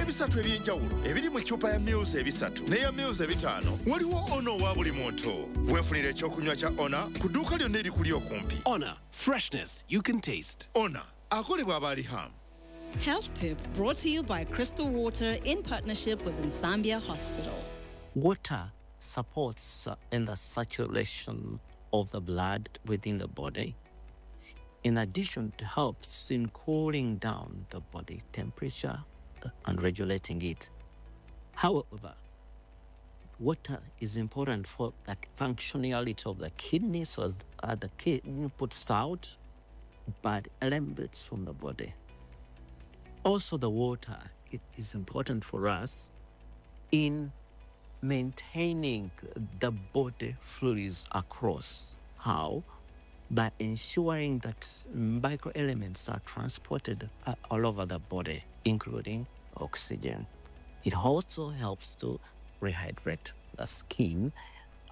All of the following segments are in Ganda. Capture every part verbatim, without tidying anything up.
Olw'ebisatu eby'enjawulo ebiri mu ccupa ya mils ebisatu n'eya mils ebitaano, waliwo Ona owa buli muntu. Weefunira ekyokunywa kya Ona ku dduuka lyonna erikuli okumpi. Honor, freshness you can taste. Ona akolebwa abaali ham. Health tip brought to you by Crystal Water in partnership with Nsambya Hospital. Water supports uh, in the circulation of the blood within the body. In addition, it helps in cooling down the body temperature uh, and regulating it. However, water is important for the functionality of the kidney, so that the kidney puts out bad elements from the body. Also, the water, it is important for us in maintaining the body fluids across. How? By ensuring that microelements are transported uh, all over the body, including oxygen. It also helps to rehydrate the skin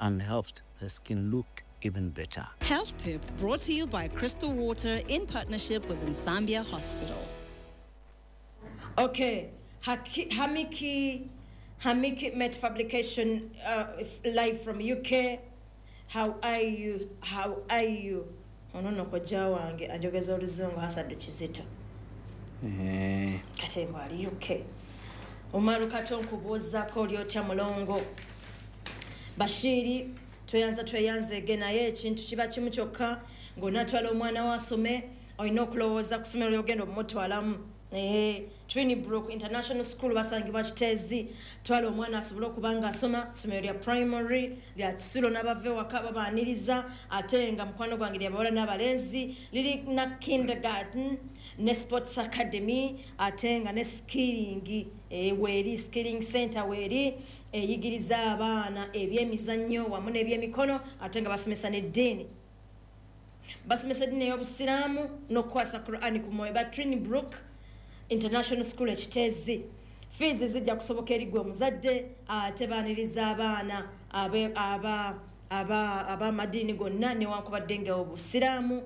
and helps the skin look even better. Health tip brought to you by Crystal Water in partnership with Nsambya Hospital. Okay, Haki, Hamiki, Hamiki Met Fabrication, uh, live from U K. How are you? How are you? Ono nno kojja wange anjogeza oluzungu, Hasadu Kizito. Eh, Katembo ali U K. Umaru Kato, nkubuuzaako, oli otya mulongo? Bashiri, tweyanza, tweyanzeege, naye ekintu kiba kimu kyokka, ng'onaatwala omwana we asome, olina okulowooza ku ssomero lyogenda omumutwalamu. Eh, Trinibrook International School basangibwa Kiteezi. Twala omwana asobole okuba nga asoma, ssomero lya primary lya kisulo, n'abava ewaka babaaniriza, ate nga mukwano gwange lyabawala n'abalenzi, liri na kindergarten ne sports academy, ate nga ne skilling eh, weeri, skilling center weeri, eyigiriza abaana ebyemizannyo wamu n'ebyemikono, ate nga basomesa n'eddiini, basomesa eddiini ey'obusiraamu n'okukwasa Qurani ku mwoyo. Ba Trinibrook International School Ekiteezi, fees zijja kusoboka eri gwe omuzadde, ate baaniriza abaana abe- aba- aba- ab'amadiini gonna, newankubadde nga obusiraamu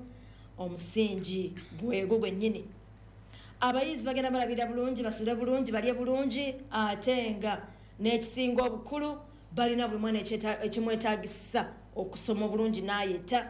omusingi gwego gwennyini. Abayizi bagenda balabira bulungi, basule bulungi, balye bulungi, ate nga n'ekisinga obukulu balina buli mwana ekyeta- ekimwetagisa okusoma obulungi n'ayita,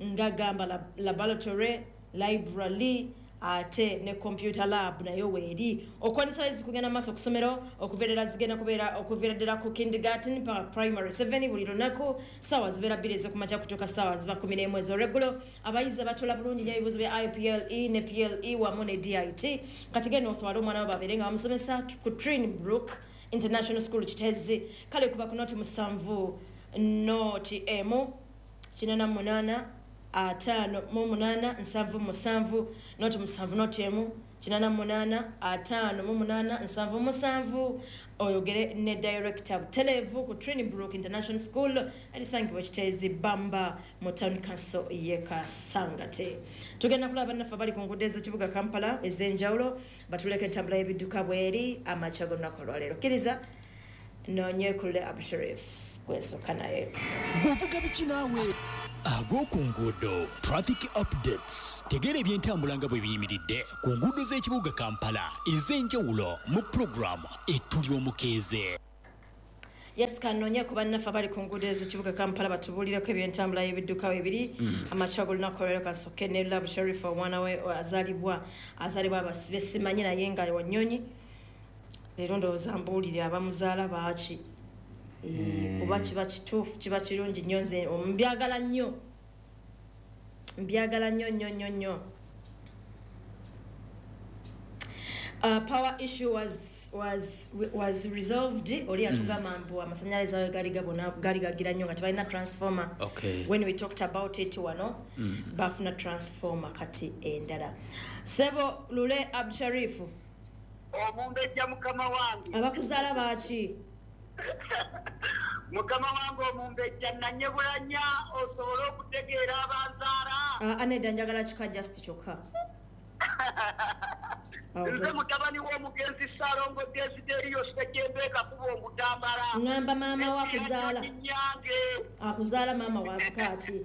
nga gamba lab- laboratory, library, ate ne computer lab nayo weeri. Okwanisa abayizi kugenda maaso okusomero okuviira zigenda kubeera okuviira ddala ku kindergarten paka primary seven, buli lunaku saawa zibeera bbiri ez'okumakya kutuuka saawa ziba kumi n'emu ez'olweggulo. Abayizi abatula bulungi nnyo ebibuuzo bya I P L E ne P L E wamu ne D I T. Kati genda oswale omwana we babeere nga bamusomesa ku Trinbrook International School Kitezi. Kale kuba ku noti musanvu noti emu kinana munaana ataano mu munaana nsanvu musanvu, noti musanvu noti emu kinana munaana ataano mu munaana nsanvu musanvu, oyogere ne director butelevu ku Trinibrook International School erisangibwa Kiteezi Bamba mu town council ye Kasangate. Tugenda kulaba bannaffe abali ku nguudo ez'ekibuga Kampala ez'enjawulo, batuleko entambula y'ebidduka bweri amakya g'olunaku olwaleero. Kkiriza noonyekulule Abusharif gwensooka naye. Bw'ovuga biki naawe ag'oku nguudo? Traffic updates, tegeera ebyentambula nga bwe biyimiridde ku nguudo z'ekibuga Kampala ez'enjawulo mu pulogulaamu Etuli Omukeeze. Yes, kanoonye ku bannaffe abali ku nguudo ez'ekibuga Kampala batubuulireko ebyentambula y'ebidduka ebiri amakya g'olunaku olwaleero. Kansooke ne Lab Sharif, omwana we azaalibwa azaalibwa abasibe simanyi, naye nga wanyonyi leero ndowooza mbuulire abamuzaala baaki. Eh, kuba kiba kituufu, kiba kirungi nnyo, nze mbyagala nnyo, mbyagala nnyo nnyo nnyo nnyo. Uh, power issue was was was resolved. Oli yatugamba mbu amasanyalaze ago gali gabona gali gagira nnyo nga tebalina transformer. Okay. When we talked about it wano, bafuna transformer kati endala. Sebo Lule Absharifu. Omumbejja, mukama wange. Abakuzaala baaki? Mukama wange omumbejja, nanyebulanya osobole okutegeera abanzaala. uh, anedda njagala kika just kyokka. Awo Nze to- mutabani w'omugenzi Saalongo Desiderio Ssekembe Kakuba Omutambala. Ŋŋamba maama wa akuzaala. Nyange. Akuzaala maama wa kika ki?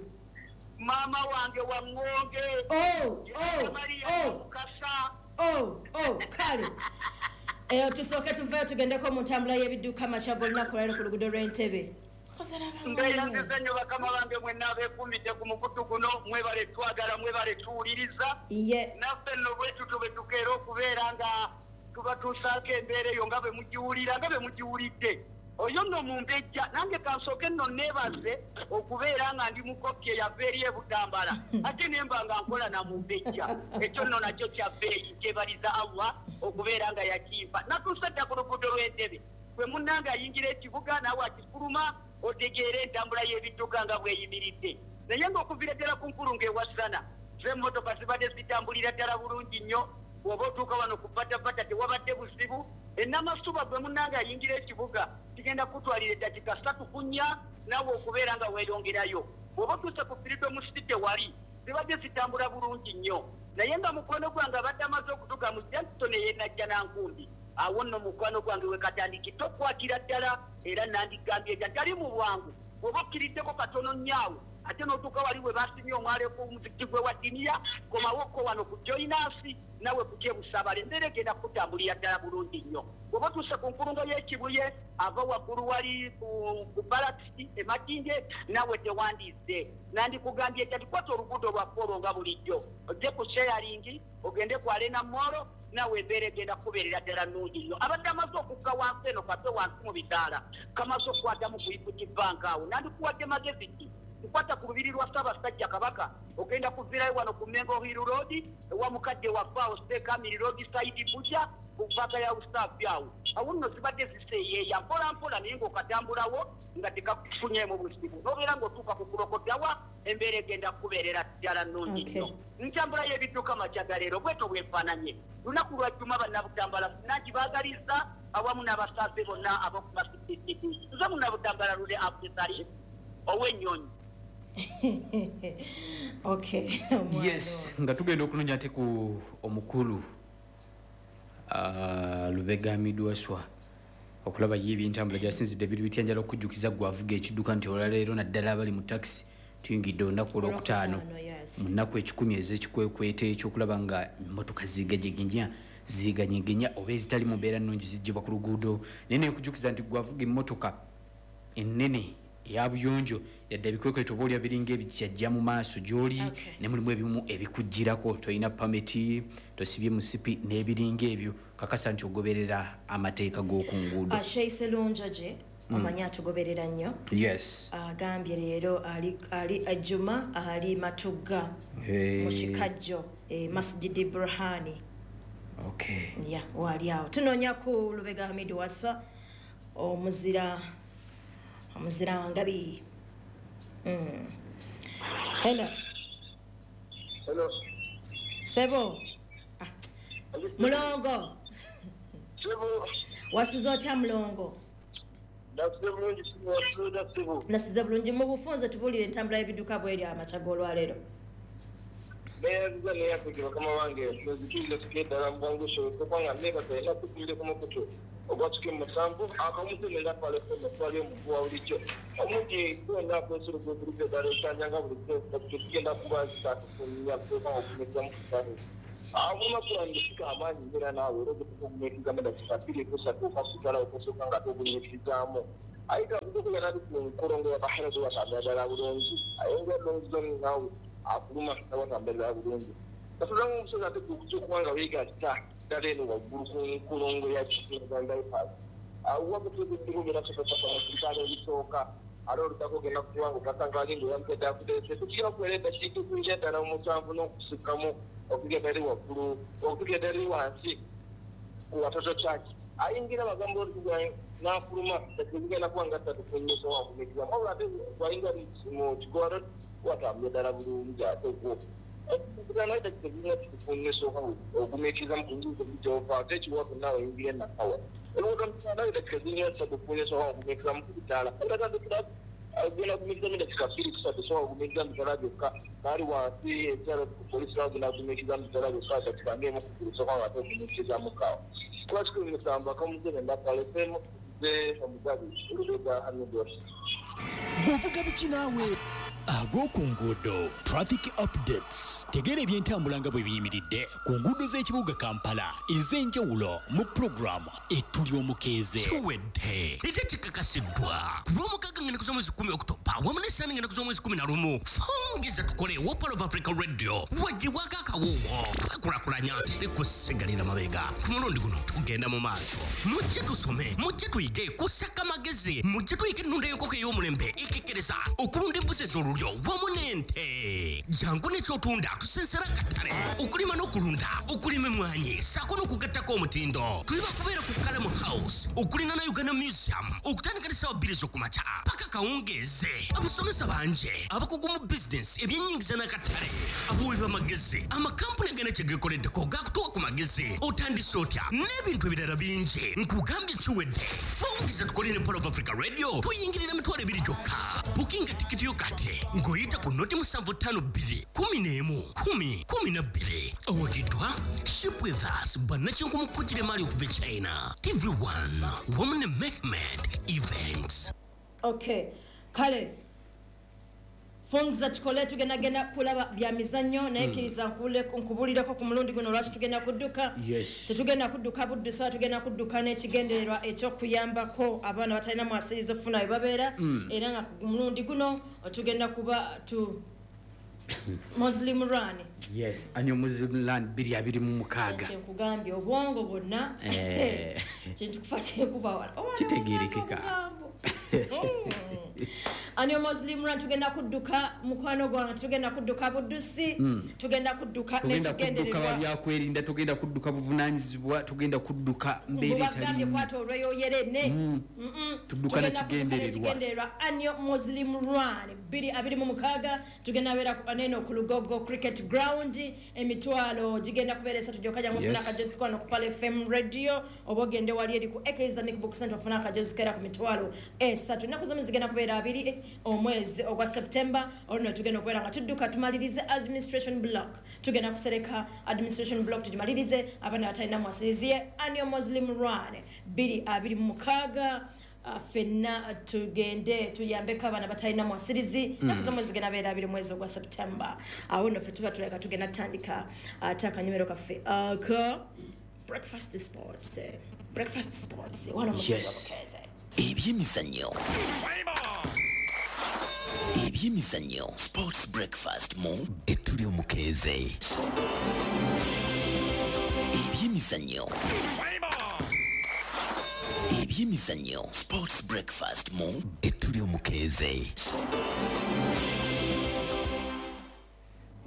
Maama wange wa Ŋŋonge. Oh, oh, Maria oh. Mukasa. Oh, oh, kale. Eyo tusooke tuveeyo tugendeko mu ntambula y'ebidduka amakya g'olunaku olwaleero ku luguudo lw'Entebbe. Mbeeyanziza nnyo bakama bange mwenna abeekuumidde ku mukutu guno, mwebale twagala, mwebale tuwuliriza. Naffe nno bwe tutyo bwe tukeera okubeera nga tubatuusaako embeera eyo nga bwe mugiwulira, nga bwe mugiwulidde. Oyo nno mumbejja, nange kansooke nno neebaze okubeera nga ndi mukopi eyava eri e Butambala, ate ne mba nga nkola na mumbejja. Ekyo nno nakyo kya bbeeyi, nkyebaliza Allah okubeera nga yakimpa. Natuuse dda ku luguudo lw'Entebbe, bwe munnange ayingira ekibuga naawe akifuluma, otegeere entambula y'ebidduka nga bw'eyimiridde. Naye ng'okuviira ddala ku nkulungo ewasana, z'emmotoka zibadde zitambulira ddala bulungi nnyo. Bw'oba otuuka wano ku Patapata tewabadde buzibu. Enamasuba gwe munnange ayingira ekibuga kigenda kutwalira eddakiika ssatu ku nnya naawe okubeera nga weeyongerayo. Bw'oba otuuse ku Freedom City wali zibadde zitambula bulungi nnyo. Naye nga mukwano gwange abadde amaze okutuuka mu Johnson ey'e Nankumbi, awo nno mukwano gwange we katandikidde okukwatira ddala, era nandigambye nti tali mu bwangu. Bw'oba okkiriddeko katono nnyo awo, ate n'otuuka wali we basimye omwala ku muzikiti gwe wa Diniya, komawoko wano ku Joinasi nawe ku Kyebusabale, embeera egenda kutambulira ddala bulungi nnyo. Bw'oba otuuse ku nkulungo y'Ekibuye, ava waggulu wali ku Balakisi e Makindye, nawe tewandiise. Nandikugambye nti kwata oluguudo lwaffe olwo nga bulijjo, ojje ku Sharing, ogende ku Arena Mall, nawe embeera egenda kubeerera ddala nnungi nnyo. Abadde amaze okukka wansi eno kate wansi mu bitaala, kamaze okukwatamu ku Equity Bank awo. Nandikuwadde magezi ki? Nkwata ku lubiri lwa Ssaabasajja Kabaka, ogenda kuvirayo wano ku Mengo Hill Road, ewa mukadde waffe awo Sheikh Amiri Road side Buja, ku mpaka ya Usaafi awo. Awo nno zibadde ziseeyeeya mpola mpola, naye ng'okatambulawo nga tekakufunyeemu buzibu. N'obeera ng'otuuka ku Kulokotawa, embeera egenda kubeerera ddala nnungi nnyo. Ntambula y'ebidduka makya ga leero bwetyo bwefaananye. Lunaku lwa Jjuma Bannabutambala nankibaagaliza awamu n'abasaaze bonna ab'oku Masjid. Nze Munnabutambala Lule Abdusali ow'ennyonyi. Okay. Yes, nga tugenda okunoonya ate ku omukulu uh, Lubega Hamidu Waswa okulaba ye ebyentambula gyasinzidde biri bitya. Njala okujjukiza gwe avuga ekidduka nti olwaleero naddala abali mu takisi tuyingidde olunaku olwokutaano mu nnaku ekikumi ez'ekikwekweto ekyokulaba nga emmotoka ziiganyegenya ziiganyegenya oba ezitali mu mbeera nnungi ziggyibwa ku luguudo. Naye nekujjukiza nti gwe avuga emmotoka ennene eya buyonjo, yadde ebikwekweto oba olya biringa ebikyajja mu maaso gy'oli, ne mulimu ebimu ebikugirako, tolina pameti, tosibye musipi n'ebiringa ebyo, kakasa nti ogoberera amateeka g'oku nguudo. Sheikh Serunjogi omanyi atugoberera nnyo. Yes. Agambye leero ali ali Juma ali Matugga mu Kikajjo, Masjid Burhani. Okay. Yeah, wali awo. Tunoonya ku Lubega Hamidu Waswa omuzira omuzira ngabi. Mm. Hello. Hello. Sebo. Ah. Mulongo. Sebo. Wasiza otya Mulongo? Nasize bulungi, wasiza sebo. Nasize bulungi. Mu bufunze tubuulire entambula y'ebidduka bw'eri amakya g'olwaleero. Neyaziza neyakugira bakama bange nzikiriza tuke ddala mu bwangu kubanga neebaza era tukulire ku mukutu ogwatuka musanvu akamuze nenda twale omuguwa bulijjo omuti gwonna akwesula gwekuliza eddala ekyanja nga bulijjo tugenda kuba zitatufunya kuteeka okugumiikiriza mu kusatu olunaku lwange sika amaanyi mbeera naawe era ogutukugumiikirizaamu eddakiika bbiri kusatu okasigala okusooka nga togumiikirizaamu aye kagukubeera nali ku nkolongo ya Bahrain watambula ddala bulungi ayongera bulungi naawe afuluma watambula bulungi kasuzamu omusozi ate gukubanga weegatta ddala eno waggulu ku nkulungo ya Uganda Bypass wakutuziddikubeera ebisooka ate olutako ogenda kubanga okasanga ali ngaoyamutedde akudeese tukira okubeera eddakiika ekwingira ddala musanvu n'okusukkamu okugenda eri waggulu okugenda eri wansi ku Watoto Church ayingira bagamba olutugwa n'afuluma tekigenda kuba nga ssatu ku nnyo wakumikizamu wabula ate bwayingira mu Kigoa watambula ddala bulungi ate gwo ogumiikirizamu ku njuzi gy'ova ate ekiwato naawe oyingira enakawa oluguudo eddakiika ziringa ssatu ku nnya osobola okugumiikirizamu ku bitaala olatandikira ogenda kugumiikirizamu eddakiika bbiri kusatu osobola okugumiikirizamu bitaala byokka naali wansi ekyalo polisi bagenda kugumiikirizamu bitaala byokka eddakiika ng'emu ku bbiri osobola ate okugumiikirizamu kaawo kuba kikumi musanvu akamuze nendapalefemu ze omugabi Lubega Hamidu. Bw'ovuga biki naawe? Ag'oku nguudo, traffic updates. Tegeera ebyentambula nga bwe biyimiridde ku nguudo z'ekibuga Kampala ez'enjawulo mu pulogulaamu Etuli Omukeeze. Kiwedde ate kikakasiddwa ku lw'omukaaga ng'ennaku z'omwezi kumi Okutoba wamu n'essaani ng'ennaku z'omwezi kumi na lumu. Fungiza tukole wa Pearl of Africa Radio wagibwako akawuwo twekulaakulanya, teri kusigalira mabega. Ku mulundi guno tugenda mu maaso. Mujje tusome, mujje tuyige kusaka magezi, mujje tuyige ennunda y'enkoko ey'omulembe ekekkereza, okulunda embuzi ez'olulyo wamu n'ente. Jangu n'ekyotunda tusensera akatale, okulima n'okulunda, okulima emmwanyi ssaako n'okugattako omutindo. Tuli bakubeera ku Kalamu House okulinaana Uganda Museum okutandika n'essaawa bbiri ez'okumakya paka kawungeeze. Abasomesa bangi, abakugu mu bizinensi, ebyennyingiza n'akatale, abawi b'amagezi, amakampuni agana kye geekoleddeko gakutuwa ku magezi, otandise otya n'ebintu ebirala bingi. Nkugambye kiwedde. Fungiza tukole ne Pearl of Africa Radio, tuyingirira emitwalo ebiri gyokka. Bukinga tikiti yo kati ng'oyita ku noti musanvu ttaano bbiri kumi n'emu kumi kumi na bbiri. Owagiddwa Ship With Us, bannakinku kugira emmaali okuva e China, T V one wamu ne Mehmed Events. Okay, kale fungiza tukole, tugendagenda kulaba bya mizannyo, naye kkiriza nkubule- nkubulireko ku mulundi guno lwaki tugenda kudduka. Yes. Tetugenda kudduka buddusa, tugenda kudduka n'ekigendererwa ekyokuyambako abaana batalina mwasiriza okufuna we babeera. Era nga ku mulundi guno tugenda kuba tu Muslim Run. Yes, annual Muslim Run bbiri abiri mu mukaaga. Kyenkugambye, obwongo bwonna Eh. kintu kufa kyekuba wala. Kitegeerekeka. Annual Muslim Run, tugenda kudduka, mukwano gwange, tugenda kudduka buddusi, tugenda kudduka Tugenda kudduka n'ekigendererwa babyakwerinda, tugenda kudduka buvunanyizibwa, tugenda kudduka mbeera mubagambye etalimu. Kwata olweyoyerene. Tudduka na kigendererwa. Kigendererwa Annual Muslim Run bbiri abiri mu mukaaga, tugenda beera ku- neno ku Lugogo Cricket Ground. Emitwalo gigenda kubeera esatu gyokka. Jangu ofuna Yes. akajozi kwano ku Pearl F M Radio, oba ogende wali eri ku A K Islamic Book Center ofuna akajozi kera ku mitwalo esatu. Ennaku zomwezi zigenda kubeera abiri omwezi ogwa September. Olwo tugenda okubeera nga tudduka tumalirize administration block. Tugenda kusereka administration block tugimalirize, abaana batalina mwasiriziye. Annual Muslim Run bbiri abiri mu mukaaga, ah, ffenna tugende tuyambeko abaana batalina mwasirizi. Ennaku zomwezi zigenda beera abiri mwezi ogwa September. Awo nno ffe tuba tuleka tugenda tutandika ate akanyumiro kaffe aka breakfast sports, breakfast sports wano mu Yes. Bukeeze. Ebyemizannyo, ebyemizannyo, sports breakfast mu Etuli Omukeeze. Ebyemizannyo, ebyemizannyo, sports breakfast mu Etuli Omukeeze.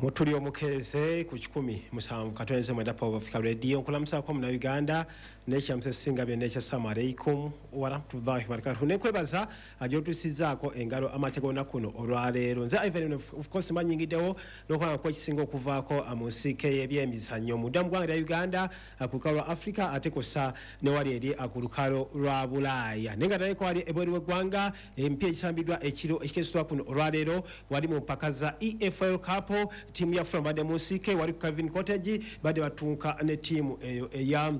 Mutuli Omukeeze ku kikumi musanvu katonze mwenda Power Africa Radio. Nkulamusaako Munnayuganda n'ekyamusa ekisinga byonna ekya assalamu alaikum warahmatullahi wabarakatuh, nekwebaza gyotusizaako engalo amakya g'olunaku kuno olwaleero. Nze Ivan, of course manyingiddewo n'okulaba ku ekisinga okuvaako mu nsiike y'ebyemizannyo munda mu ggwanga lya Uganda, ku lukalu lwa Africa, ate kussa ne wali eri ku lukalu lwa Bulaaya, naye nga naleko wali ebweru w'eggwanga. Emipiira egisambiddwa ekiro ekikesitwa kuno olwaleero, wali mu mpaka za E F L Cup, ttiimu ya Fulham badde mu nsiike wali ku Craven Cottage, badde batunka ne ttiimu eyo eya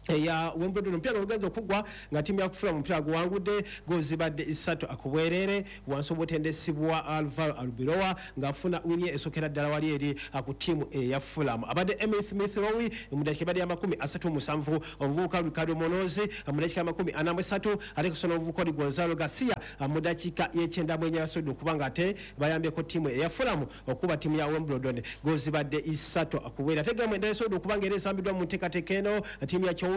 eya Wimbledon. Omupiira gugenza okugwa nga ttiimu ya Fulham omupiira guwangudde goolo zibadde ssatu akubwerere, wansi obutendesi bwa Alvaro Arbeloa, ng'afuna wini esokera ddala wali eri ku ttiimu eya Fulham. Abadde Emil Smith Rowe mu dakiika ebadde ya makumi asatu mu musanvu, omuvubuka Ricardo Munoz mu dakiika makumi ana mu esatu, ate kusa n'omuvubuka oli Gonzalo Garcia mu dakiika y'ekyenda mu enya yasobodde okuba nga ate bayambyeko ttiimu eya Fulham okuba ttiimu ya Wimbledon goolo zibadde ssatu akubwerere. Ate gemu endala esobodde okuba nga era esambiddwa mu nteekateeka eno, ttiimu ya Chelsea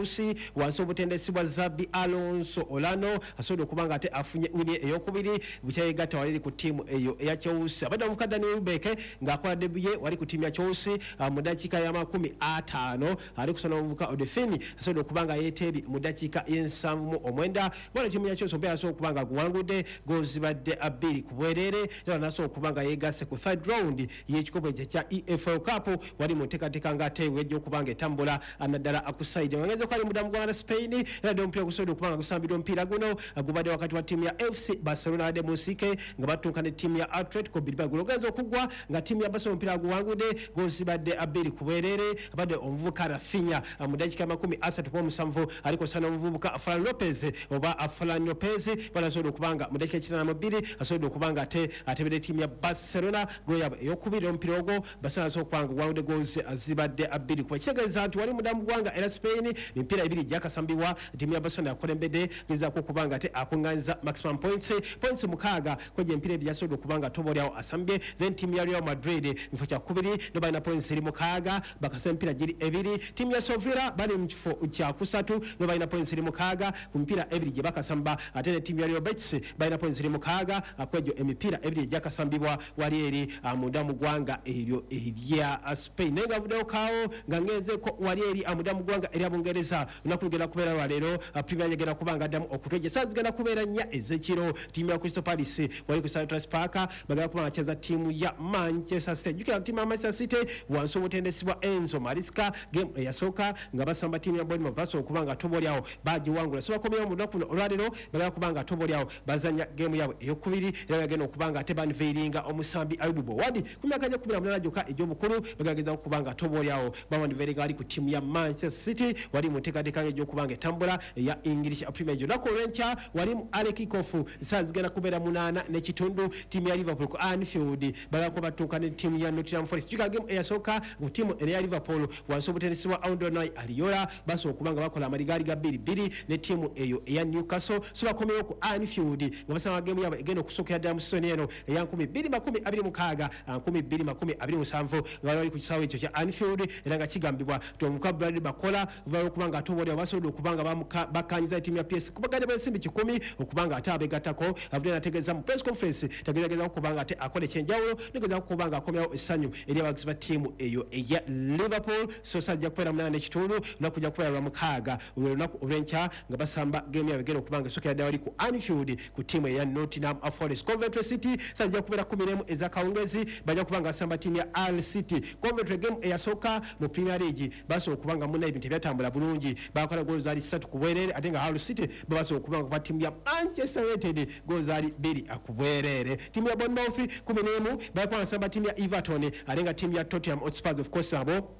wansi obutendesi bwa Xabi Alonso Olano asobodde okuba nga ate afunye wini eyokubiri bukyayegatta wali eri ku ttiimu eyo eya Chelsea. Abadde omuvubuka Dani Welbeck ng'akola debut ye wali ku ttiimu ya Chelsea ah, mu dakiika ya makumi ataano, ali kusona omuvubuka Odefini asobodde okuba nga yeeteebye mu dakiika y'ensanvu mu omwenda. Bwana ttiimu ya Chelsea omupiira asobola okuba nga guwangudde goolo zibadde bbiri ku bwereere, era nasobola okuba nga yeegasse ku third round y'ekikopo ekyo ekya E F L Cup wali mu nteekateeka ng'ate wejja okuba nga etambula naddala ku side. Nga kali muda mu ggwanga Spain era dde omupiira gusobodde okuba nga gusambiddwa omupiira guno gubadde wakati wa ttiimu ya F C Barcelona adde mu nsike nga batuuka ne ttiimu ya Atletico Bilbao. Gulogenza okuggwa nga ttiimu ya Barcelona omupiira guwangudde gozibadde abiri ku bwereere, abadde omuvubuka Rafinha mu ddakiika makumi asatu mu musanvu alikosa n'omuvubuka Ferran Lopez oba Ferran Lopez balasobodde okuba nga mu ddakiika kinaana mu bbiri asobodde okuba nga ate atebedde ttiimu ya Barcelona goal yaabwe ey'okubiri omupiira ogwo Barcelona asobola okuba nga guwangudde goals zibadde abiri kuba kitegeeza nti wali muda mu ggwanga era Spain emipiira ebiri gyakasambibwa ttiimu ya Barcelona yakulembedde gezaako okuba nga ate akuŋŋaanyiza maximum points points mukaaga kwegyo emipiira ebiri yasobodde okuba nga toboolyawo asambye. Then ttiimu ya Real Madrid mu kifo kya kubiri no balina points eri mukaaga bakasa emipiira giri ebiri. Ttiimu ya Sevilla bali mu kifo kya kusatu no balina points eri mukaaga ku mipiira ebiri gye bakasamba, ate ne ttiimu ya Real Betis balina points eri mukaaga kwegyo emipiira ebiri egyakasambibwa wali eri munda mu ggwanga eryo erya Spain. Naye nga vuddeyo kaawo nga ngenzeeko wali eri munda mu ggwanga erya Bungereza olunaku lugenda kubeera lwaleero Premier League egenda kuba nga addamu okutwejja saa zigenda kubeera nnya ez'ekiro. Ttiimu ya Crystal Palace wali ku Selhurst Park bagenda kuba nga bakyeza ttiimu ya Manchester City. Jjukira ttiimu ya Manchester City wansi w'obutendesi bwa Enzo Maresca game eyasooka nga basamba ttiimu ya Bournemouth basobola okuba nga toboolyawo bagiwangula, so bakomyewo mu lunaku luno olwaleero bagenda kuba nga toboolyawo bazannya game yaabwe eyokubiri era bagenda okuba nga ate banveiringa omusambi Ayubu Bowadi ku myaka gya kkumi na munaana gyokka egy'obukulu bagenda okuba nga toboolyawo bawanveiringa wali ku ttiimu ya Manchester City wali mu nteekateeka egy'okuba nga etambula eya English Premier League. Olunaku olw'enkya wali mu Ale Kickoff saa zigenda kubeera munaana n'ekitundu ttiimu ya Liverpool ku Anfield bagenda kuba batuuka ne ttiimu ya Nottingham Forest. Jjukira game eyasooka ku ttiimu eya Liverpool wansi w'obutendesi bwa Andoni Iraola basobola okuba nga bakola amaligaali ga bbiri bbiri ne ttiimu eyo eya Newcastle, so bakomyewo ku Anfield nga basamba game yaabwe egenda okusookera ddala mu season eno eya nkumi bbiri makumi abiri mukaaga nkumi bbiri makumi abiri musanvu nga bali ku kisaawe ekyo kya Anfield era nga kigambibwa nti omuka Bradley Bakola oluvannyuma lw'okuba nga atoboolera basobodde okuba nga bakkaanyiza ttiimu ya P S kubaganda b'ensimbi kikumi okuba nga ate abeegattako. Avudde n'ategeeza mu press conference tagezagezaako okuba nga ate akola ekyenjawulo negezaako okuba nga akomyawo essanyu eri abawagizi ba ttiimu eyo eya Liverpool. So sajja kubeera munaana n'ekitundu olunaku kujja kubeera lwa mukaaga olw'olunaku olw'enkya nga basamba game yaabwe egenda okuba nga esookera ddala wali ku Anfield ku ttiimu eya Nottingham Forest. Coventry City sajja kubeera kkumi n'emu ez'akawungeezi bajja kuba nga basamba ttiimu ya Hull City. Coventry game eyasooka mu Premier League basobola okuba nga munna ebintu tebyatambula bulungi bakola goolo zaali ssatu ku bwereere ate nga Hull City basobola okuba nga ttiimu ya Manchester United goolo zaali bbiri ku bwereere. Ttiimu ya Bournemouth kkumi n'emu bajja kuba nga basamba ttiimu ya Everton ate nga ttiimu ya Tottenham Hotspur of course abo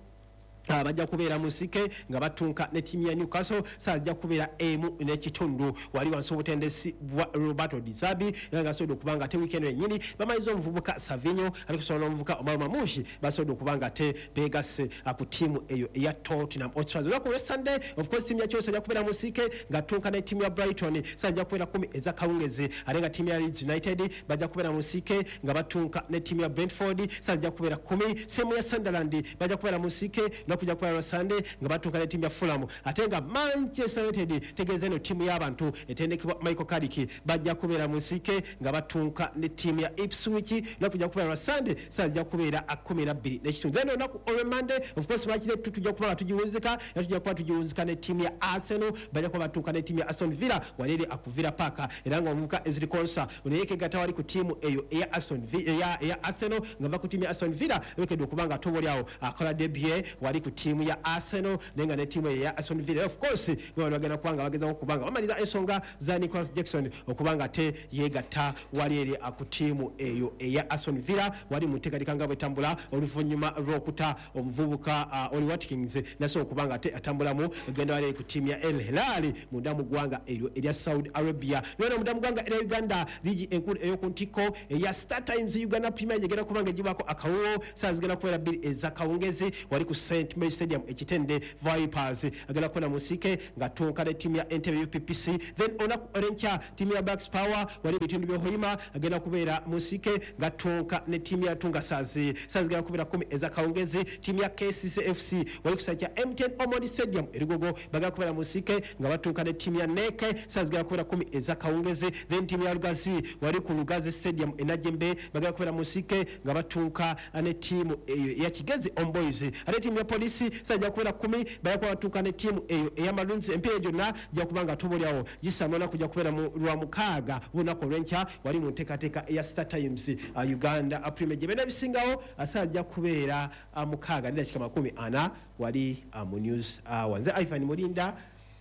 bajja kubeera mu nsike nga batunka ne ttiimu ya Newcastle saa zijja kubeera emu n'ekitundu wali wansi w'obutendesi bwa Roberto Di Zerbi era nga asobodde okuba nga ate weekend yennyini bamaliza omuvubuka Savinho alikusobola n'omuvubuka Omar Mamushi basobodde okuba nga ate beegasse ku ttiimu eyo eya Tottenham Hotspur. Olunaku olwa Sunday of course ttiimu ya Chelsea ejja kubeera mu nsike nga tunka ne ttiimu ya Brighton saa zijja kubeera kkumi ez'akawungeezi ate nga ttiimu ya Leeds United bajja kubeera mu nsike nga batunka ne ttiimu ya Brentford saa zijja kubeera kkumi. Semu ya Sunderland bajja kubeera mu nsike kujja kubeera Sunday nga batuuka ne ttiimu ya Fulham ate nga Manchester United tegeeza eno ttiimu y'abantu etendekebwa Michael Carrick bajja kubeera mu nsike nga batunka ne ttiimu ya Ipswich nakujja kubeera Sunday saa zijja kubeera kkumi na bbiri n'ekitundu. Then olunaku olwe Monday of course bakire tujja kuba nga tugiwunzika era tujja kuba tugiwunzika ne ttiimu ya Arsenal bajja kuba batuuka ne ttiimu ya Aston Villa wali eri ku Villa Park era nga omuvubuka Ezri Konsa ono yeekegatta wali ku ttiimu eyo eya Aston Villa eya Arsenal nga va ku ttiimu ya Aston Villa ewekedde okuba nga tobolyawo akola debut wali ku ttiimu ya Arsenal naye nga ne ttiimu eya Aston Villa of course bano bagenda kuba nga bagezaako okuba nga bamaliriza ensonga za Nicholas Jackson okuba nga ate yeegatta wali eri ku ttiimu eyo eya Aston Villa wali mu nteekateeka nga bwetambula oluvannyuma lw'okuta omuvubuka uh, Oli Watkins nasobola okuba nga ate atambulamu egenda wali eri ku ttiimu ya El Hilal munda mu ggwanga eryo erya Saudi Arabia. Naye munda mu ggwanga erya Uganda liigi enkulu ey'oku ntikko eya Star Times Uganda Premier League egenda kuba nga egibwako akawuwo saa zigenda kubeera bbiri ez'akawungezi wali ku Saint Mary Stadium ekitende Vipers agenda kubeera mu nsike nga tunka ne ttiimu ya Entebbe U P P C. Then olunaku olw'enkya ttiimu ya Blacks Power wali ebitundu by'e Hoima agenda kubeera mu nsike nga tunka ne ttiimu ya Tunga Sazi saa zigenda kubeera kkumi ez'akawungezi. Ttiimu ya K C C F C wali ku kisaawe kya M T N Omondi Stadium e Lugogo bagenda kubeera mu nsike nga batunka ne ttiimu ya N E C saa zigenda kubeera kkumi ez'akawungezi. Then ttiimu ya Lugazi wali ku Lugazi Stadium e Najjembe bagenda kubeera mu nsike nga batunka ne ttiimu eyo eya Kigezi Homeboys. Ate ttiimu ya Police Police sajja kubeera kumi bajja kuba ne ttiimu eyo eya Maroons. Empiira gyonna gya kuba nga tubolyawo gisamba kujja kubeera mu lwa mukaaga olunaku olw'enkya wali mu nteekateeka eya Star Times uh, Uganda Premier. Byonna bisingawo asajja kubeera uh, mukaaga n'eddakiika makumi ana wali uh, mu news hour. Nze Ivan Mulinda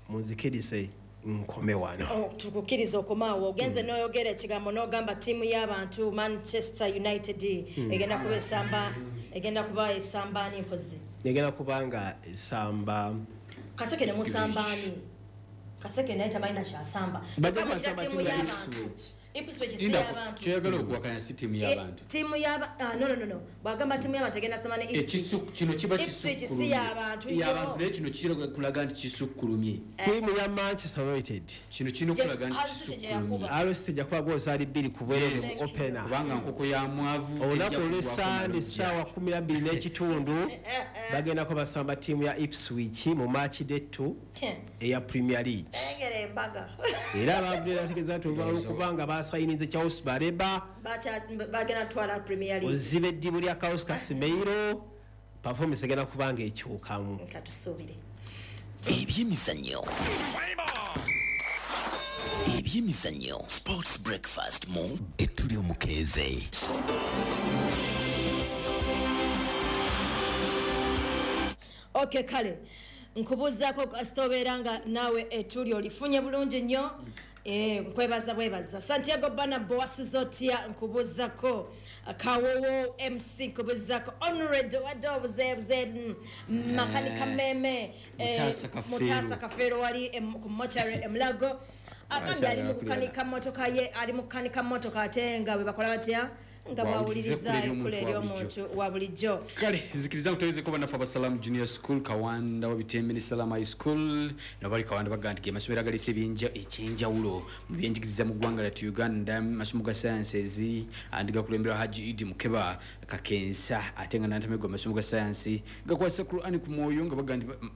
munzikirise nkome wano. Oh, tukukkiriza okomaawo ogenze n'oyogera ekigambo n'ogamba ttiimu y'abantu Manchester United Hmm. egenda kuba esamba egenda kuba esamba ani mpozi egenda kuba nga esamba Kaseke ne musamba ani Kaseke naye tamanyi nakyasamba. Bajja Kyokka mugira kubasamba ttiimu ttiimu ya y'abantu. Ipswich. Ipswich si Linda, y'abantu. kyoyagala okuwakanya si ttiimu y'abantu. Ttiimu y'aba ah, no no no no bw'agamba ttiimu y'abantu egenda samba ne Ipswich. Ekisu kino kiba Ipswich si kisukkulumye. y'abantu Y'abantu naye kino kiraga nti kisukkulumye. Ttiimu ya Manchester United kino kirina okulaga nti Hull City gye kisukkulumye. yakuba. Hull City ejja kuba gozaali bbiri ku bwereere mu Thank you. opener. Kubanga nkoko ya mwavu olunaku tejja olw'essande kugwako essaawa kumi na bbiri n'ekitundu bagendako basamba ttiimu ya Ipswich mu match day two eya Premier League. Engera embaga. Era abavudde bategeeza nti olwokubanga basayininze Charles Baleba Bacha- bagenda kutwala Premier League. oziba eddibu lya Carlos Casemiro performance egenda kubanga ekyukamu. Katusuubire. Ebyemizannyo. Ebyemizannyo. Sports breakfast mu Etuli Omukeeze. Okay, kale nkubuuzaako kasita obeera nga naawe etuli olifunye bulungi nnyo. Eh, nkwebaza bwebaza. Santiago Bernabeu wasuze otya nkubuuzako. Kawowo M C nkubuuzako. Honored wadde obuzeebuze mm, makanika meme eh, Mutaasa Kafeero. Mutaasa Kafeero wali em- ku mochari Emulago. Agambye ali mu kukanika mmotoka ye ali mu kukanika mmotoka ate nga bwe bakola batya nga Bw'awuliriza bw'awuliriza ekkula ekkula ery'omuntu ery'omuntu wa bulijjo. Kale nzikiriza nkutegeezeko bannaffe abasalamu Junior School Kawanda Wabitembe ne Salama High School nabo bali Kawanda bagamba nti ge masomero agaleese ebyenja- ekyenjawulo mu byenjigiriza mu ggwanga lyattu Uganda amasomo ga sciences andi gakulemberwa Haji Idi Mukeba Kakensa ate nga nantamegwa amasomo ga science gakwasa Qur'an ku mwoyo nga bagamba nti ba-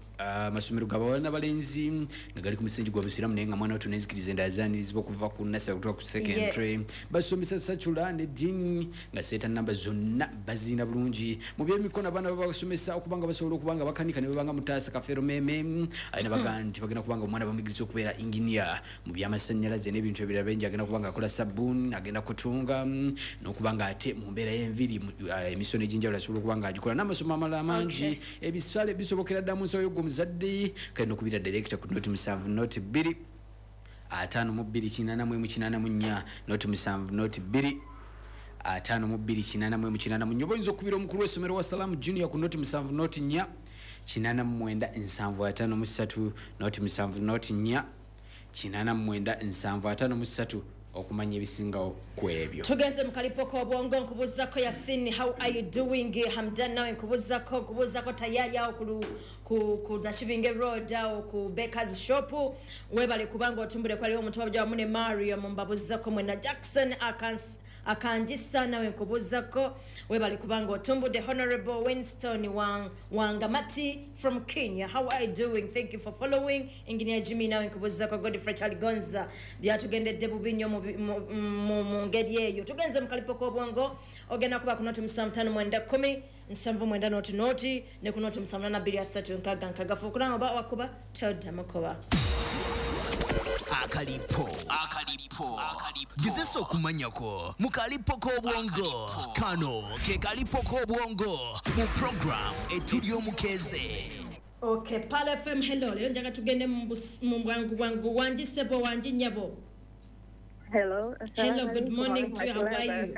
amasomero g'abawala n'abalenzi nga gali ku musingi gwa busiraamu naye nga mwana wattu n'enzikiriza endala zaanirizibwa okuva ku nursery okutuuka ku secondary. Basomesa secular ne ddiini nga seeta namba zonna baziina bulungi mu byemikono abaana babasomesa okuba nga basobola okuba nga bakanika ne babanga Mutaasa Kafeero Meme alina baga nti bagenda kuba nga omwana bamuyigiriza okubeera engineer mu byamasannyalaze n'ebintu ebirala bingi agenda kuba nga akola sabbuuni agenda kutunga mm, n'okuba nga ate mu mbeera y'enviiri mu- ah, emisono egy'enjawulo asobola okuba nga agikola n'amasomo amalala mangi ebisale bisobokera ddala mu nsawo y'ogwo omuzadde kale n'okubira director ku noti musanvu noti bbiri ataano mu bbiri kinaana mu emu kinaana mu nnya noti musanvu noti bbiri ataano mu bbiri kinaana mu emu kinaana mu nnya oba oyinza okubira omukulu w'essomero wa Salaamu Junior ku noti musanvu noti nnya kinaana mu mwenda nsanvu ataano mu ssatu noti musanvu noti nnya kinaana mu mwenda nsanvu ataano mu ssatu okumanya ebisingawo ku ebyo. Tugenze mu kalipo k'obwongo nkubuuzako Yasin, how are you doing? Hamdan nawe nkubuuzako nkubuuzako tayari awo ku lu- ku, ku Nakibinge Road awo ku Bakers Shop webale kubanga otumbule kwaliwo omuntu wabujja wamu ne Mario mumbabuuzako mwena Jackson Akans Akanjisa nawe nkubuuzako webale kubanga otumbudde. Honorable Winston Wang, Wangamati from Kenya, how are you doing? Thank you for following. Engineer Jimmy nawe nkubuuzako. Godfrey Chaligonza byatugendedde bubi nnyo mu bi- mu- mu mu ngeri eyo. Tugenze mu kalipo k'obwongo ogenda kuba ku noti musanvu ttaano mwenda kkumi nsanvu mwenda noti noti ne ku noti musanvu nana bbiri asatu nkaaga nkaaga fuukulanga oba wakuba toddamu kuba. Akalipo akalipo gezesa okumanyako mu kalipo k'obwongo kano ke kalipo k'obwongo mu program Etuli Omukeeze. Okay, Pal F M, hello. Leero njagala tugende mu bus- mu bwangu bwangu. Wangi ssebo, wangi nnyabo. Hello. Hello, good morning to you. How are you?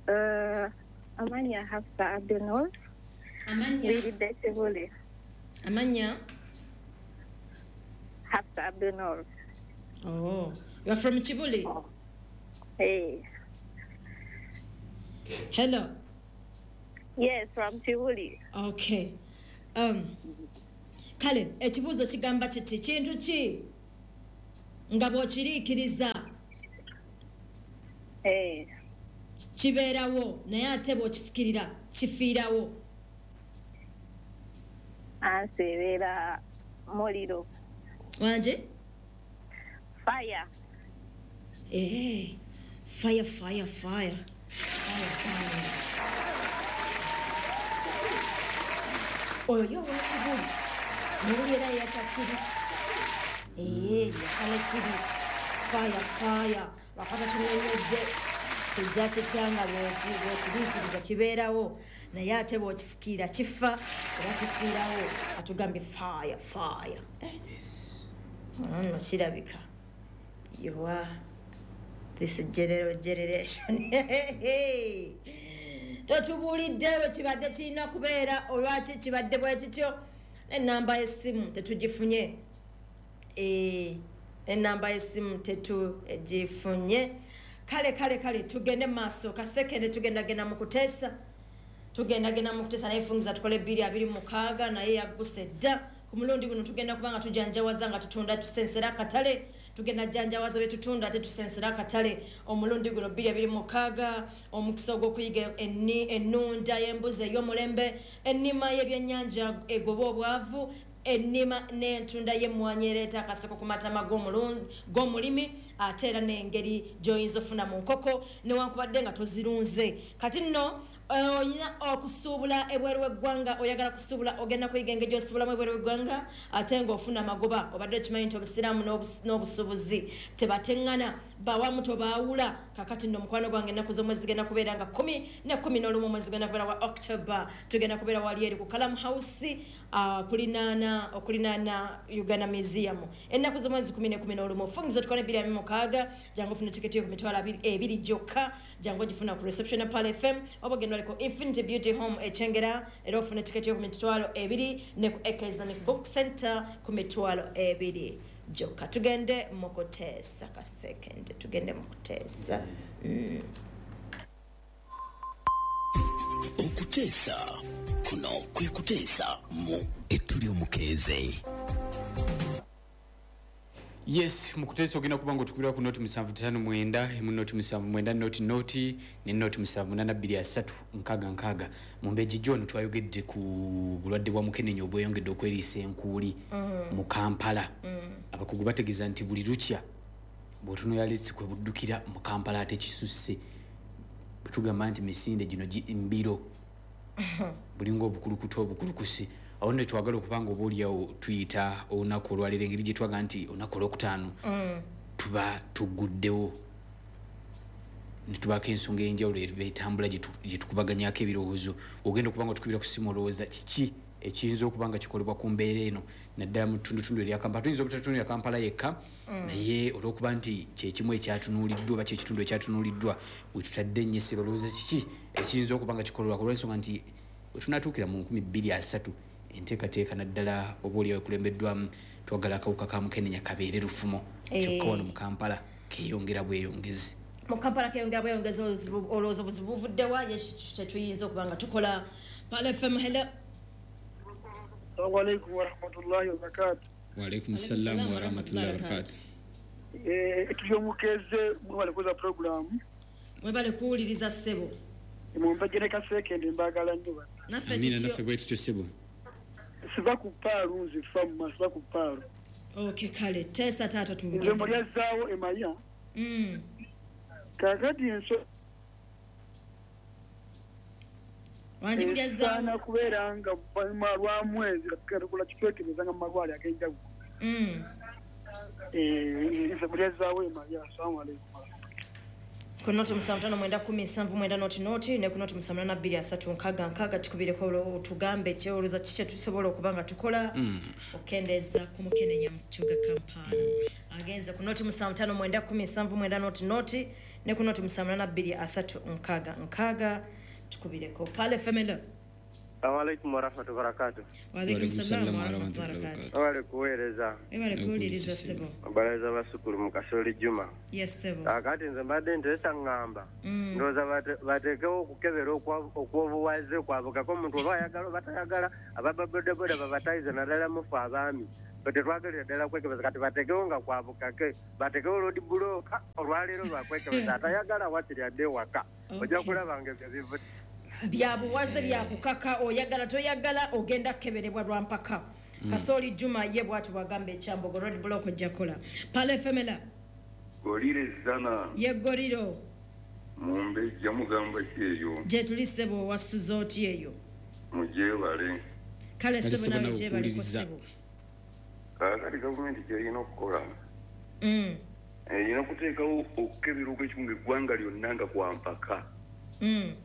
Uh, Amanya Hafsa Abdul Noor. Amanya. Wiridde Kibuli. Amanya. Hafsa Abdul Noor. Oh, you are from Kibuli? Hey. Hello. Yes, from Kibuli. Okay. Um, kale ekibuuzo kigamba kiti kintu ki nga bw'okiriikiriza Hey. kibeerawo naye ate bw'okifukirira kifiirawo. Ansi ebeera muliro. Wanje? Fire. Eh, fire, fire, fire. Fire, fire. Oyo yo ow'Ekibuli newuli era yatakiri ee yakala kiri fire fire wakata tunyonyodde kijja kitya nga bw'okiriikiriza kibeerawo naye ate bw'okifukiira kifa era kifiirawo. Atugambye fire fire. Ono nno kirabika you are this general generation. Totubuulidde bwe kibadde kirina kubeera, olwaki kibadde bwe kityo. N'ennamba y'essimu tetugifunye, ennamba y'essimu tetugifunye. Kale kale kale tugende maaso kasekende, tugendagenda mu kuteesa, tugendagenda mu kuteesa naye fungiza tukole bbiri abiri mukaaga naye yagguse dda. Ku mulundi guno tugenda kubanga tujanjawaza nga tutunda tusensera akatale, tugenda janjawaza bye tutunda ate tusensera akatale. Omulundi guno bbiri abiri mukaaga omukisa ogw'okuyiga ennunda y'embuzi ey'omulembe, ennima y'ebyennyanja egoba obwavu, ennima n'entunda y'emmwanyi ereeta akaseko ku matama g'omulimi, ate era n'engeri gy'oyinza ofuna mu nkoko newankubadde nga tozirunze. Kati nno olina okusuubula ebweru w'eggwanga, oyagala kusuubula ogenda kuyiga engeri gy'osuubulamu ebweru w'eggwanga ate ng'ofuna amagoba. Obadde okimanyi nti obusiraamu n'obusuubuzi tebateŋŋana, bawamu tobaawula. Kakati nno mukwano gwange ennaku z'omwezi zigenda kubeera nga kkumi ne kkumi n'olumu omwezi gugenda kubeera wa October, tugenda kubeera wali eri ku Kalam House okulinaana okulinaana Uganda Museum ennaku z'omwezi kkumi ne kkumi n'olumu. Fungiza tukole bbiri abiri mukaaga, jangu ofune tiketi yo ku mitwalo ebiri gyokka, jangu ogifuna ku reception ya Pearl F M oba ogenda waliko Infinity Beauty Home Ekyengera era ofune tiketi yo ku mitwalo ebiri, ne ku Eka Islamic Book Center ku mitwalo ebiri gyokka. Tugende mu kuteesa kasekende, tugende mu kuteesa. Mm. Okuteesa kuno kwe kuteesa mu etuli omukeeze. Yes, mu kuteesa ogenda kuba ng'otukubira ku noti musanvu ttaano mwenda, emu noti musanvu mwenda noti noti ne noti musanvu munaana bbiri asatu nkaaga nkaaga. Mu Mbeji John twayogedde ku bulwadde bwa mukenenya obweyongedde okweriisa enkuuli mu Kampala. Abakugu bategeeza nti buli lukya bw'otunula letsi kwe buddukira mu Kampala ate kisusse. Bwe tugamba nti misinde gino mbiro bulinga obukulukutu obukulukusi. Awo nno twagala okuba nga oboolyawo tuyita olunaku olwaleero engeri gye twaga nti olunaku olwokutaano tuba tugguddewo ne tubaako ensonga ey'enjawulo etambula gye tukubaganyako ebirowoozo. Ogenda okuba nga otukubira ku ssimu olowooza kiki ekiyinza okuba nga kikolebwa ku mbeera eno naddala mu ttundutundu erya Kampala. Tuyinza obutatunuulira Kampala yekka, naye olw'okuba nti kyekimu ekyatunuuliddwa oba kyekitundu ekyatunuuliddwa we tutadde ennyo essira, olowooza kiki ekiyinza okuba nga kikolebwa olw'ensonga nti we tunaatuukira mu nkumi bbiri asatu enteekateeka naddala oba oliawo ekulembeddwamu twagala akawuka ka mukenenya kabeere lufumo, kyokka wano mu Kampala keeyongera bweyongezi. Mu Kampala keeyongera bweyongezi, olowooza obuzibu buvuddewa? Ye kyetuyinza okuba nga tukola. Pearl F M, hello. Assalamu alaikum warahmatullahi wabarakatuh. Wa alaikum salam wa rahmatullahi wa barakatuh. Eh, tuyomukeeze mwebale kuza program. Mwebale kuwuliriza ssebo. Mumbajje ne kasekende mbagala nnyo bana. Naffe tutyo. Naffe bwe tutyo ssebo. Siva ku paalu nze famu siva ku paalu. Okay, kale teesa taata tugende. Nze mulyazaawo emaya. Mm. Kaakati enso wangi mulyazaawo esaana kubeera nga lwa mwezi katukola kikwekebeza nga mu malwaliro ag'enjawulo. Mm. Eh, nze mulyazaawo emaya. Assalamu alaikum. Ku noti musanvu ttaano mwenda kkumi nsanvu mwenda noti noti ne ku noti musanvu munaana bbiri asatu nkaaga nkaaga tukubireko otugambe kyolowooza kiki kye tusobola okuba nga tukola okukendeeza ku mukenenya mu kibuga Kampala. Agenze ku noti musanvu ttaano mwenda kkumi nsanvu mwenda noti noti ne ku noti musanvu munaana bbiri asatu nkaaga nkaaga tukubireko. Pearl F M, hello. Assalamu alaikum warahmatullahi wabarakatuh. Wa alaikum salam warahmatullahi wabarakatuh. Wabale kuweereza. Wabale kuwuliriza ssebo. Abaleza basukulu mu Kasoli Juma. Yes ssebo. Kakati nze mbadde nteesa ŋŋamba. Ndowooza bateekewo okukebera okw'obuwaze kwabukako omuntu oba ayagala oba tayagala, ababodaboda babatayize naddala mufe abaami. Tetwagalira ddala kwekebeza, kati bateekewo nga kwabukake, bateekewo road block olwaleero lwakwekebeza, atayagala wakiri adde ewaka. Ojja kulaba nga ebyo bivu byabuwaze byakukaka, oyagala toyagala ogenda kukeberebwa lwa mpaka. Kasoli Juma ye bw'atyo bw'agamba ekyambogo road block ojja kukola. Pearl F M, Golire zana. Ye goriro. Mumbejja mugamba ki eyo? Gye tuli ssebo wasuze oti eyo? Mugyebale. Kale ssebo, nawe gyebaliko ssebo. Kaakati gavumenti kyerina okukola, Mm. erina okuteekawo okukebera okw'ekikungu eggwanga lyonna nga kwa mpaka. Mm.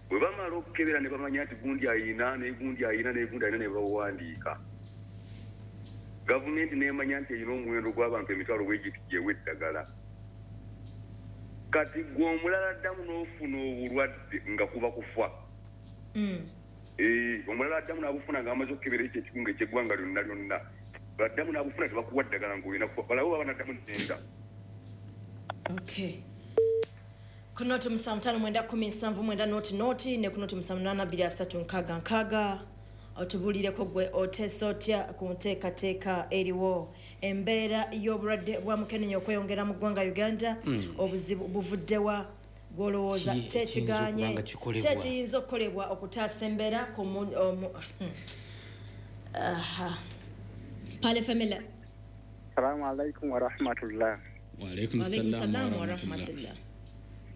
Bwe bamala okukebera ne bamanya nti gundi ayina ne gundi ayina ne gundi ayina ne bawandiika, gavumenti n'emanya nti erina omuwendo gw'abantu emitwalo bwegiti gyewa eddagala. Kati gwe omulala addamu n'ofuna obulwadde nga kuba kufa. Mm. Eh, omulala addamu n'abufuna ng'amaze okukebera ekyo ekikungu eky'eggwanga lyonna lyonna, baddamu n'abufuna tebakuwa ddagala ng'olina kufa, balabe baba naddamu nenda. Okay. Ku noti musanvu ttaano mwenda kkumi nsanvu mwenda noti noti ne ku noti musanvu munaana bbiri asatu nkaaga nkaaga, otubuulireko gwe oteesa otya ku nteekateeka eriwo, embeera y'obulwadde bwa mukenenya okweyongera mu ggwanga Uganda. Mm. Obuzibu buvuddewa gw'olowooza? Ki ekiyinza kyekiganye okuba nga kikolebwa? Kyekiyinza okukolebwa okutaasa embeera ku mu- omu- Aha. Pale Famila. Salamu alaikum warahmatullah. Waalaikum Waalaikum salaam salaam warahmatullah. warahmatullah.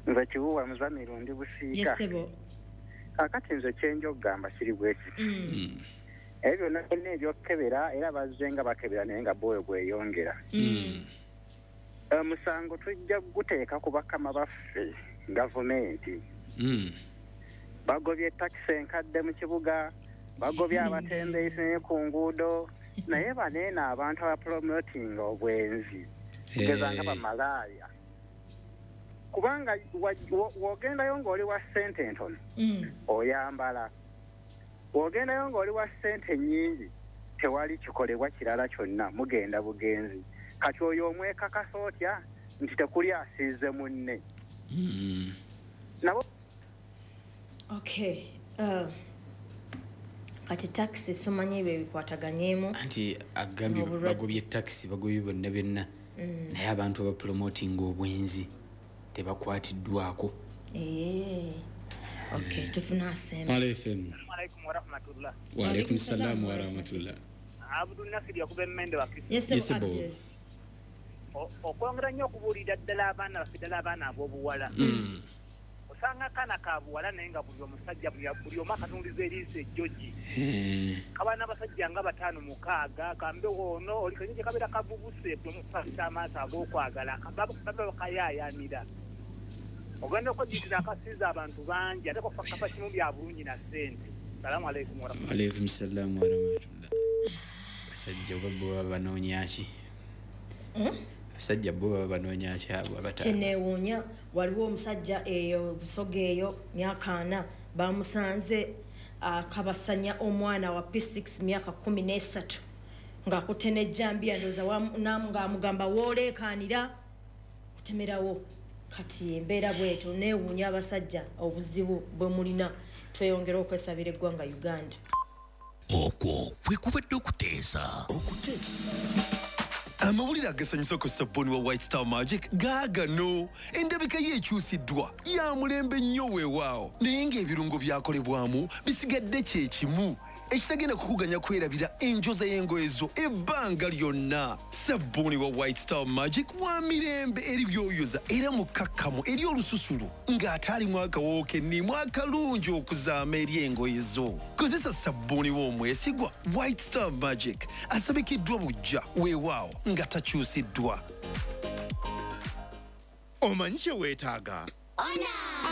Nze Kibuwa Muzamiru, ndi Busiika. Yes ssebo. Kakati nze kyenja okugamba kiri bwe kiti. Mm. Ebyo byonna byonna ebyokukebera era bazze nga bakebera naye nga bwoyo bweyongera. Mm. Omusango tujja kuguteeka ku bakama baffe gavumenti. Mm. Bagobye takisi enkadde mu kibuga, bagobye abatembeeyi ku nguudo, naye baneeno abantu abapromotinga obwenzi, kugeza nga bamalaaya. Kubanga wa- wo- w'ogendayo ng'oli wa ssente entono, Mm. oyambala. W'ogendayo ng'oli wa ssente nnyingi, tewali kikolebwa kirala kyonna, mugenda bugenzi. Kati oyo omwekakasa otya nti tekuli asiize munne? Mm. Nabo Okay. Uh, kati takisi simanyi ebyo ebikwataganyeemu. Anti agambye N'obulwadde. bagobye takisi, bagobye byonna byonna, Mm. naye abantu abapromotinga obwenzi tebakwatiddwako. Eh. Okay, tufuna asemba. Pale F M. Alaikum warahmatullah. Waalaikum salaam warahmatullah. Abdul Nasir yakuba emmende wakisi. Yes Yes, ssebo ssebo. Abdul. Okwongera nnyo okubuulira ddala abaana baffe, ddala abaana ab'obuwala. Mm. Osanga akaana ka buwala naye nga buli omusajja buli buli omu akatundiza eriiso ejjogi. Eh. Kaba n'abasajja nga bataano mukaaga, kambe ono oli kanyingi kabeera kavubuse, buli omu kafisa amaaso ag'okwagala, baba baba bakayaayaanira. Ogenda okwejjukira akasiiza abantu bangi ate kafa kafa kimu bya bulungi na ssente. Salaamu alaikum warahmatullahi. Waalaikum salaam warahmatullah. Abasajja oba bo baba banoonya ki? Mm? Abasajja bo baba banoonya ki abo abataano? Kyeneewuunya, waliwo omusajja eyo Busoga eyo, myaka ana, bamusanze akabasanya omwana wa P six myaka kumi n'esatu ng'akutte n'ejjambiya, ndowooza wamu- namu- ng'amugamba wooleekaanira kutemerawo. Kati embeera bwetyo, neewuunya abasajja obuzibu bwe mulina. Tweyongera okwesabira eggwanga Uganda. Okwo kwe kubadde okuteesa. Amawulire agasanyusa ku sabbuuni wa White Star Magic gaagano. Endabika ye ekyusiddwa, ya mulembe nnyo weewaawo, naye ng'ebirungo byakolebwamu bisigadde kye kimu, ekitagenda kukuganya kwerabira enjoza y'engoye zo ebbanga lyonna. Sabbuuni wa White Star Magic wa mirembe eri byoyoza era mukkakkamu eri olususu ng'ate alimu akawoowo k'enniimu akalungi okuzaama eri engoye zo. Kozesa sabbuuni w'omwesigwa White Star Magic, asabikiddwa bujja weewaawo nga takyusiddwa. Omanyi kye weetaaga?